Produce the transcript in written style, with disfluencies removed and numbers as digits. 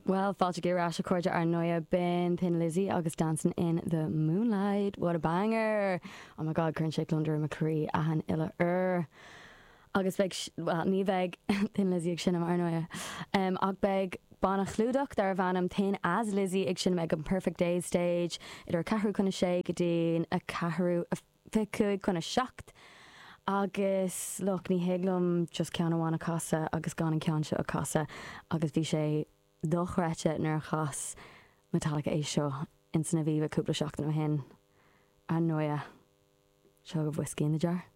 Bhuel, fáilte go ar ais a chairde ar ndóighe, b'in Thin Lizzy agus Dancing in the Moonlight. What a banger! Oh my God, cuireann sé gliondar i mo chroí achan uile uair. Agus beidh, bhuel, ní bheidh Thin Lizzy ag seinm ar ndóighe, ach beidh banna clúdach darbh ainm Thin as Lizzy ag seinm ag an Perfect Days Stage idir ceathrú chun a sé go dtí a ceathrú, 25 chun a 7 agus look ní thig liom just ceann amháin a chasadh agus gan an ceann seo a chasadh agus bhí sé dochreidte nuair a chas Metallica é seo in san Aviva cúpla seachtain ó shin. Ar ndóighe, seo agaibh Whiskey in the Jar.